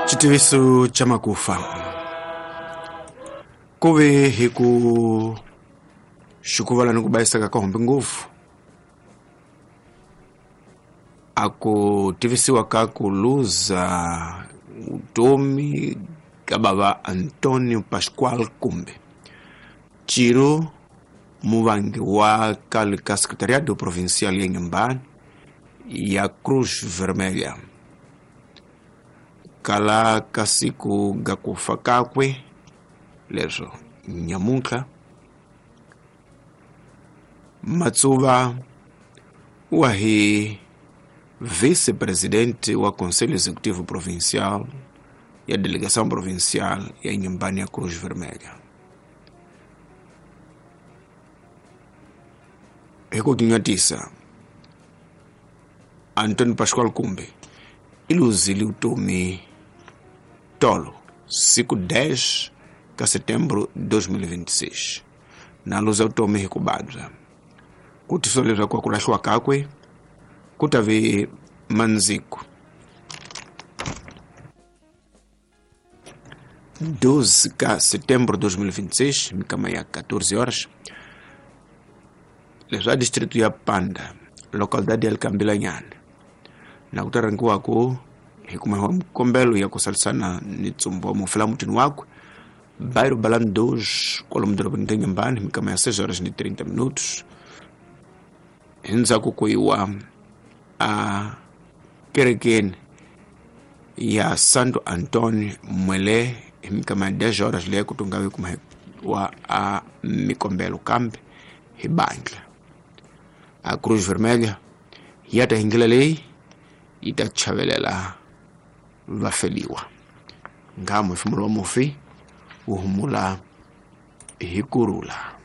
Xitiviso xa makufa ku ve hi ku xikuvala ni ku bayiseka ka hombe ngopfu a ku tivisiwa ka ku luza vutomi ka bava Antonio Pascual Kumbe Ciro muvangi wa kale ka Secretariado Provincial ya Inhambane ya Cruz Vermelha kala ka siku ga ku fa kakwe leswo nyamuntlha Matsuva wa hi vice-presidente wa Conselho Executivo Provincial ya Delegação Provincial ya Inhambane ya Cruz Vermelha. Hi ku tinyatisa Antonio Pascual Kumbe i luzile vutomi tolo siku 10 ka setembro 2026 na luza vutomi hi ku vabya ku tisiwa leswaku ku lahliwa kakwe ku ta ve mandziku 12 ka setembro 2026 mikama ya 14 horas leswi a distrito ya Panda localidade ya Likambilanyana na ku ta rhangiwaku hi kuma mikombelo ya ku salisana ni ntsumbu wa mufi la mutini wakwe bairro Balano 2 kwalomu dorobeni ra Inhambane mikama ya 6 horas ni 30 minutos hi ndzhaku ku yiwa a kerekeni ya Santo Antonio Mwele hi mikama ya 10 horas leyi ku tungavi kuma wa a mikombelo kambe hi bandla a Cruz Vermelha ya ta hi ndlela leyi yi ta chavelela vafeliwa nga muhefemulo wa mufi wu humula hi kurhula.